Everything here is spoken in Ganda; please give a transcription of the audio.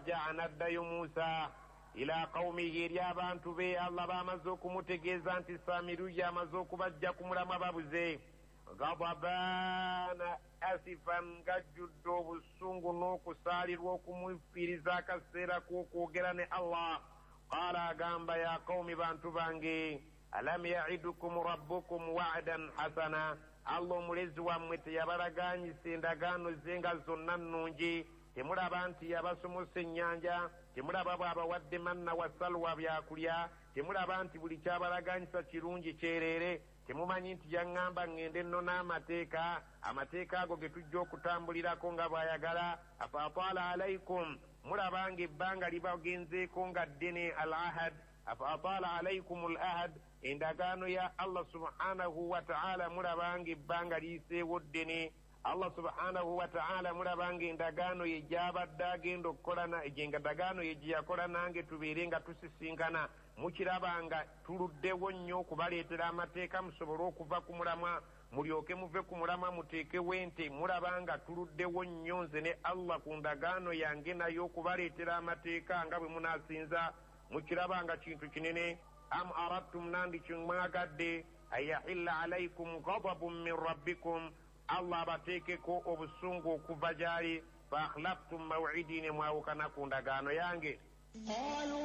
Farajaa, n'addayo Musa ila qawumihi, eri abantu be. Allah bamaze okumutegeeza nti Samiruyi amaze okubajja ku mulamwa, babuze. Gadabaana asifan, ng'ajjudde obusungu n'okusaalirwa okumufiiriza akaseera k'okwogera ne Allah. Qaala, agamba, ya qawumi, bantu bange, alam yaidukum rabbukum wa'dan hasana, Allah omulezi wammwe teyabalaganyisa endagaano ze nga zonna nnungi? Temulaba nti yabasumusa ennyanja? Temulaba bw'abawadde manna wa salwa byakulya? Temulaba nti buli kyabalaganyisa kirungi kyereere? Temumanyi nti yaŋŋamba ŋŋende nno n'amateeka, amateeka ago ge tujja okutambulirako nga bw'ayagala? Afa ataala alaikum, mulaba nga ebbanga libagenzeeko nga ddene. Al ahad, afa ataala alaikum al ahad, endagaano ya Allah subhanahu wataala, mulaba nga ebbanga liyiseewo ddene. Allah subhanahu wataala, mulaba nga endagaano ye gyabadde agenda okukola, endagaano ye gye yakola nange tubeere nga tusisinkana, mukiraba nga tuluddewo nnyo okubaleetera amateeka musobole okuva ku mulamwa, mulyoke muve ku mulamwa muteekewo ente. Mulaba nga tuluddewo nnyo nze ne Allah ku ndagaano yange naye okubaleetera amateeka nga bwe munaasinza, mukiraba nga kintu kinene. Am aradtum, nandi kimwagadde, an yahilla alaikum gadabun min rabbikum, Allah abateekeko obusungu okuva gy'ali, fa akhlaftum mawidi, ne mwawukana ku ndagaano yange. قالوا